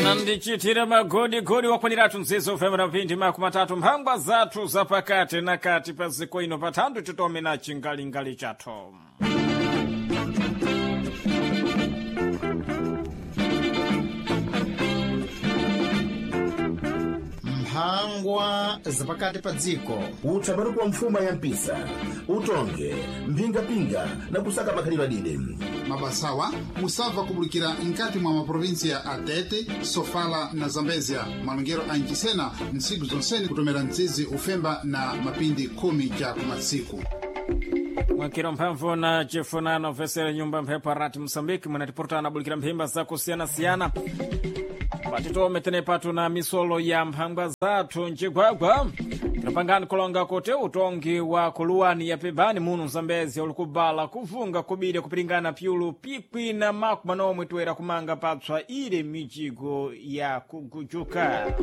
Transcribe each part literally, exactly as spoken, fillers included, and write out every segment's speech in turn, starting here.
Anandichitira magodigodi wakwaniratu mzizo ufemera mphindi makumi atatu mphangwa zathu zapakati na kati pa ziko ino pathandu titome na chingalingali chathu. Mphangwa zapakati pa dziko. Utsamani kwa mfuma ya mpisa, utonge mphingapinga na kusaka makhalidwe adide. Mabasawa musabva kubulikira nkati mwa maprovinsiya a Tete, Sofala na Zambezia. Malongero a Nchisena ntsiku zonsene kutomera mtsizi ufemba na mapindi khumi cha kumatsiku. Mwakiro mphamvu na chifunano vesere nyumba mphepo rati Mosambiki munatipurutana abulikira mphimba zakusiyana-siyana. Patitome tene patu na misolo ya mphangwa zathu mcigwagwa. Tinopangani kulonga kuti utongi wa kuluwani ya pebani muno Mzambezi ulikubala kuvunga kubiri kupiringana pyulu pikwi na makumi manomwe toera kumanga patswa ile mijigo ya kugujuka.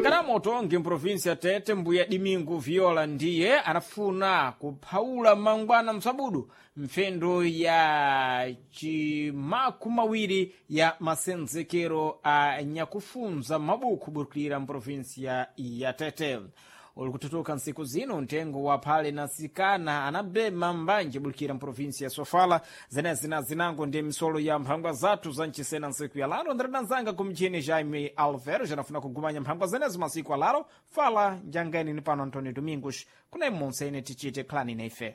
Ngarama utongi mprovinsi ya Tete mbuya Dimingu Viola ndiye anafuna kuphawula mangwana msabudu mphendo ya cimaku mawiri ya masenzekero a nyakufunza mabuku burukilira mprovinsiya ya Tete. Uli kututuka ntsiku zino mtengo wa phale na sikana anabema mbanje bulikira mprovinsi ya Sofala. Zenezi na zinango ndi misolo ya mphangwa zathu za mchisena ntsiku ya laro. Ndiradanzanga kumchini Jaime Alvero janafuna kugumanya mphangwa zenezo masiku alaro. Fala njangeni ni pano Antonio Domingos kuna imonse ine tichite khalani na ife.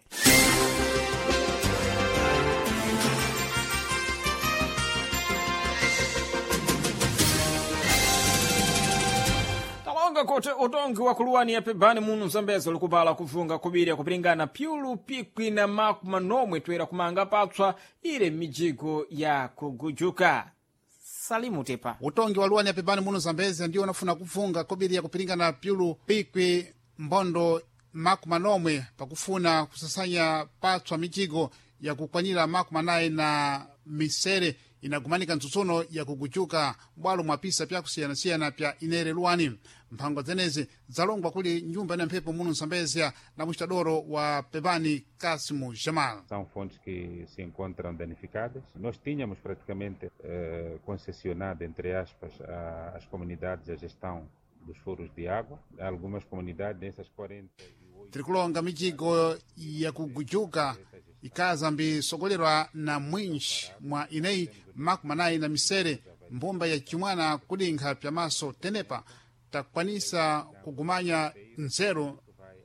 Talonga kuti utongi wa kuluwani ya pebani muno Mzambezi ulikubala kuvunga kubiri kupiringana pyulu pikwi na makumi manomwe toera kumanga patswa ile mijigo ya kugujuka. Salimu Tepa. Utongi wa luwani ya pebani muno Zambezia ndiwo unafuna kuvunga kobiri ya kupiringana pyulu pikwi mbondo makumi manomwe pakufuna kusasanya patswa mijigo yakukwanira makumi anayi na misere inagumanika ntsutsuno yakugujuka bwalo mwa pisa pyakusiyanasiyana pya inere luwani. Mphangwa zenezi zalongwa kuli nyumba ina mphepo muno Mzambezia na muxitadoro wa pebani Kasimu Jamal. São fontes que se encontram danificadas. Nós tínhamos praticamente eh, concessionado, entre aspas, a- às comunidades a gestão dos furos de água. Algumas comunidades, nessas quarenta e oito Tirikulonga mijigo yakugujuka ikaza mbisogolerwa na mwinji mwa ineyi makumi anayi na misere mbumba ya chimwana kudinkha pyamaso tenepa takwanisa kugumanya nzeru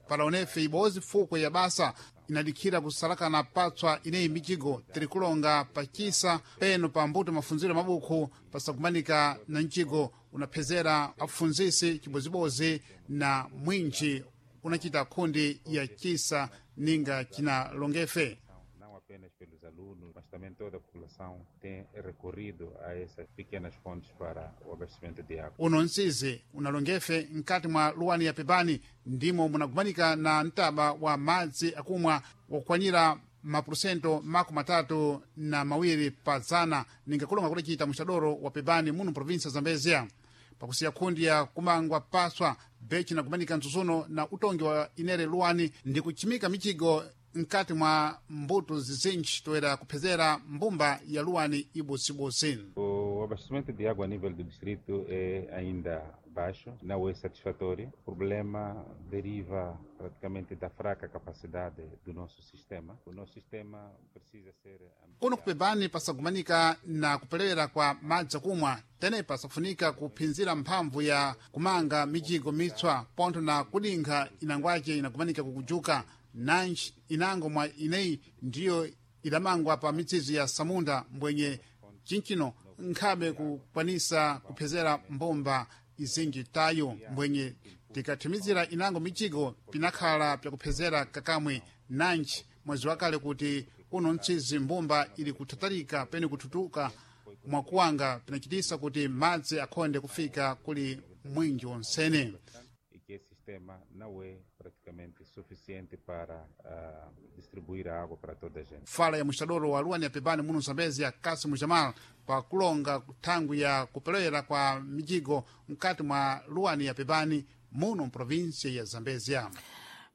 pala unefe ibozi fukwe ya basa inadikhira kusalakana patswa ineyi mijigo. Tirikulonga pachisa peno pa mbuto mafunziro mabukhu pasakumanika na mjigo unaphezera afunzisi chibozibozi na mwinji unachita khundi ya chisa ninga chinalongefe. Não apenas pelos alunos, mas também toda a população tem recorrido a essas pequenas fontes para o abastecimento de água. Uno msizi unalongefe nkati mwa luwani ya pebani ndimo munagumanika na mtaba wa madzi akumwa wakukwanira mapurusento makumi atatu na mawiri pa zana ninga kulonga kudacita muxadoro wa pebani muno provinsia Zambezia. Pakusiya khundi ya kumangwa paswa bechi nagumanika ntsutsuno na utongi wa inere luwani ndi kuchimika mijigo nkati mwa mbuto zizinji toera kuphezera mbumba ya luwani ibusibusi. O abastecimento de água a nível do distrito é ainda baixo, não é satisfatório. O problema deriva praticamente da fraca capacidade do nosso sistema. O nosso sistema precisa ser Kuno kupebani pasagumanika na kupelewera kwa madzi akumwa tenepa sakufunika kuphinzira mphamvu ya kumanga mijigo mitswa pontho na kudinkha inangwace inagumanika kukujuka nanji inango mwa ineyi ndiyo idamangwa pa mitsizo ya samunda mbwenye chinchino nkhabe kukwanisa kuphezera mbumba izinji tayo mbwenye tikathimizira inango mijigo pinakhala pyakuphezera kakamwe nanji mwezi wakale kuti kuno mtsizi mbumba ili kuthatalika pene kuthutuka mwakuwanga pinachitisa kuti madzi akhonde kufika kuli mwinji wonsene. E que esse sistema não é praticamente suficiente para ah, distribuir a água para toda a gente. Fala ya muxadoro wa luwani ya pebani muno Zambezia Kasimu Jamal pakulonga thangwi ya kupelewera kwa mijigo mkati mwa luwani ya pebani muno mprovinsia ya Zambezia.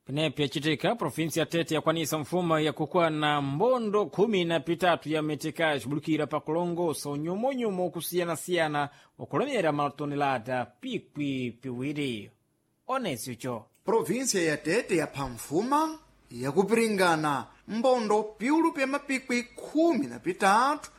Penepo yacitika provinsi ya Tete yakwanisa mfumo yakukuwa na mbondo khumi na pitatu ya metekaji bulukira pakulongosa unyumonyumo okusiyana-siyana wakulemera matonelada pikwi piwiri. Onesio Província ya Tete yapha mfuma yakupiringana mbondo piulu pya mapikwi khumi na pitatu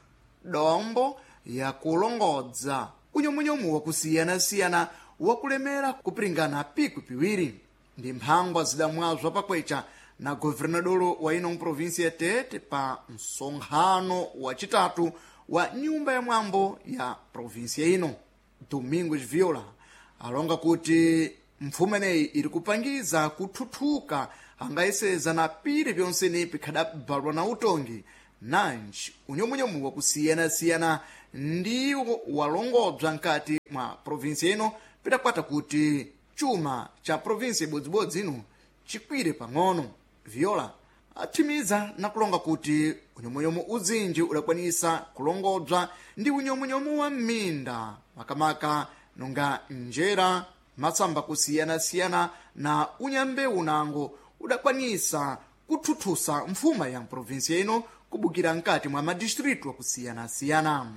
dombo yakulongodza unyomunyomu wakusiyana-siyana wakulemera kupiringana pikwi piwiri. Ndi mphangwa zidamwazwa pakwecha na governadolo wa ino mprovinsia ya Tete pa msonkhano wacitatu wa nyumba ya mwambo ya provinsia ino. Domingos Viola alonga kuti mfumu ineyi iri kupangiza kuthuthuka angayeseza na pili pyonsene pikhadabalwa na utongi nanji unyomunyomu wakusiyana-siyana ndiwo walongodzwa nkati mwa provinsia ino pidakwata kuti chuma cha provinsia ibodzibodzi ino chikwire pang'ono. Viola athimiza na kulonga kuti unyomunyomu uzinji udakwanisa kulongodzwa ndi unyomunyomu wa m'minda makamaka nonga njera masamba kusiyana-siyana na unyambewu nango udakwanisa kuthuthusa mfuma ya mprovinsia ino kubukira nkati mwa madistritu akusiyana-siyana.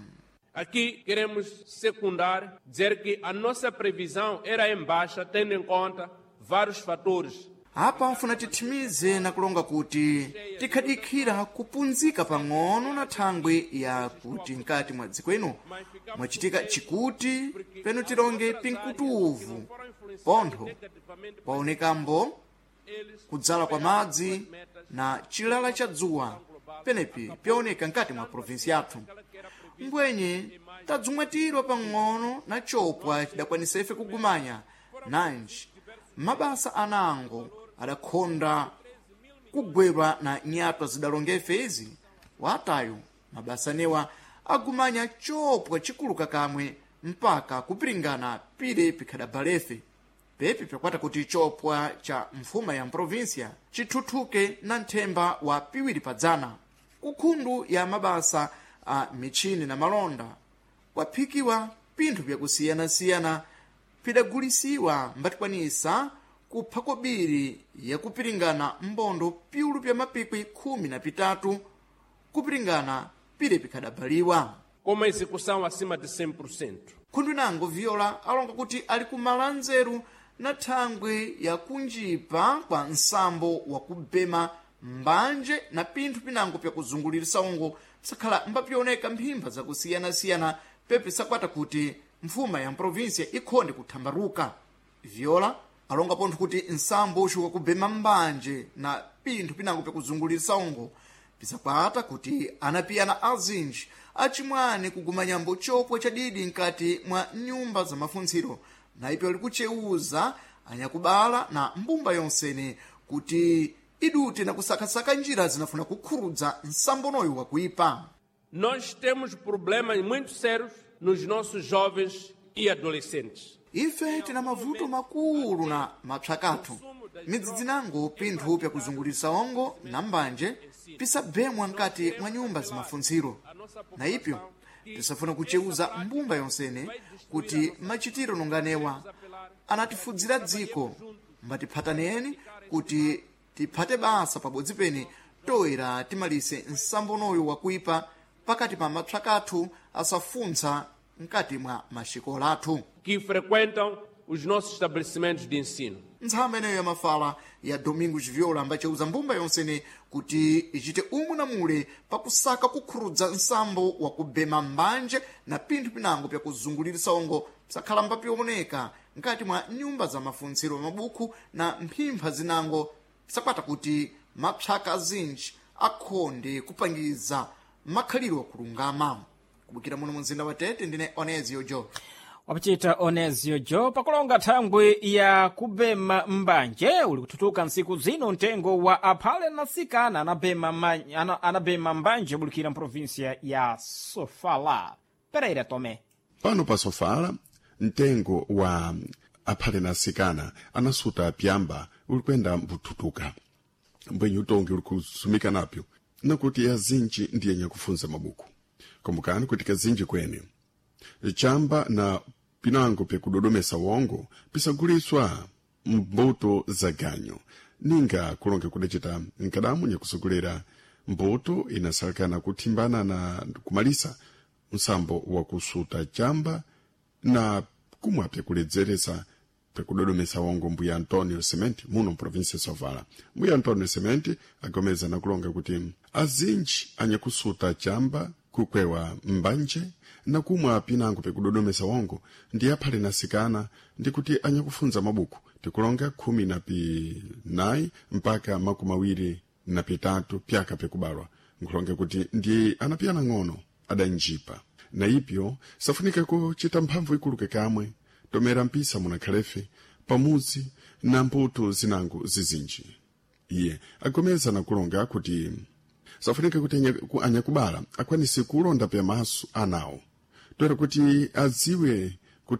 Aqui queremos secundar, dizer que a nossa previsão era em baixa, tendo em conta vários fatores. Apa mfuna tithimize na kulonga kuti tikhadikhira kupunzika pang'ono na thangwi ya kuti nkati mwa dziko ino mwachitika chikuti peno tilonge pinkutuvu pontho paonekambo kudzala kwa madzi na chilala cha dzuwa penepi pyaoneka nkati mwa provinsi yathu. Mbwenye tadzumwatirwa pang'ono na chopwa chidakwanisa ife kugumanya nanji mabasa anango adakhonda kugwerwa na nyatwa zidalonga ife izi watayo mabasa newa agumanya chopwa chikuluka kamwe mpaka kupiringana pile pikhadabalefe pepi pyakwata kuti chopwa cha mfuma ya mprovinsia chithuthuke na nthemba wa piwiri padzana. Kukhundu ya mabasa a michini na malonda kwaphikiwa pinthu pyakusiyana-siyana pidagulisiwa mbatikwanisa kupha kobiri yakupiringana mbondo piulu pya mapikwi khumi na pitatu kupiringana pile pikhadabaliwa. Com uma execução acima de cem por cento. Khundu inango Viola alonga kuti ali kumala nzeru na thangwi yakunjipa kwa nsambo wakubema mbanje na pinthu pinango pyakuzungulirisa ungo sakhala mbapyoneka mphimba zakusiyana-siyana pepi sakwata kuti mfuma ya mprovinsia ikhonde kuthambaruka. Viola alonga pontho kuti nsambo uxu wakubema mbanje na pinthu pinango pyakuzungulirisa ungo pisakwata kuti anapiyana azinji acimwani kugumanyambo chopwa chadidi nkati mwa nyumba za mafuntsiro na ipyo likuchewuza anyakubala na mbumba yonsene kuti idute na kusakasaka njira zinafuna kukhurudza nsambonoyo wakuipa. Nós temos problemas muito sérios nos nossos jovens e adolescentes. Ife tina mavuto makulu na mapsakathu midzidzi nango pinthu pyakuzungulirisa ongo na mbanje pisabemwa nkati mwa nyumba zimafuntsiro na ipyo tisafuna kuchewuza mbumba yonsene kuti machitiro nonganewa anatifudzira dziko mbatiphataneni kuti tiphate basa pabodzi pene toera timalise nsambonoyo wakuipa pakati pa mapsakathu asafuntsa nkati mwa maxikola athu que frequentam os nossos estabelecimentos de ensino. Ntsama ineyo yamafala ya Domingos Viola ambaceuza mbumba yonsene kuti ichite umwe na mule pakusaka kukhurudza nsambo wakubema mbanje na pinthu pinango pyakuzungulirisa ongo pisakhala mbapioneka nkati mwa nyumba za mafuntsiro mabukhu na mphimpha zinango pisakwata kuti mapsaka azinji akhonde kupangiza makhaliro akulungama. Kubukira muno mumzinda wa Tete ndine Onezio Jo. Wapachita Onezio Jo pakulonga thangwi ya kubema mbanje uli kuthutuka ntsiku zino mtengo wa aphale na sikana anabema, ma, ana, anabema mbanje bulikira mprovinsia ya Sofala. Pereira Tome. Pano pa Sofala mtengo wa aphale na asikana anasuta pyamba ulikwenda mbuthuthuka mbwenye utongi uli kusumika napyo nakuti azinji ndiye nyakufunza mabuku kumbukani kuti kazinji kwene chamba na pinango pyakudodomesa wongo pisaguliswa mbuto za ganyo Ninga kulonga kudacita nkadamu nyakusogolera mbuto inasalekana kuthimbana na kumalisa msambo wa kusuta chamba na kumwe pyakuledzeresa pyakudodomesa wongo mbuya Antonio Sementi muno mprovinsia Sofala. Mbuya Antonio Sementi agomeza na kulonga kuti azinji anyakusuta chamba, kukwewa mbanje na kumwa pinango pyakudodomesa wongo ndi aphale nasikana, ndi kuti anyakufunza mabuku tikulonga khumi na pinayi mpaka makumi awiri na pitatu pyaka pyakubalwa, nkulonga kuti ndi anapiyana ng'ono adanjipa na ipyo safunika kuchita mphamvu ikuluke kamwe tomera mpisa munakhalefe pamudzi na mbuto zinango zizinji. Iye agomeza na kulonga kuti safunika kuti anyakubala akwanise kulonda pyamaso anawo toera kuti adziwe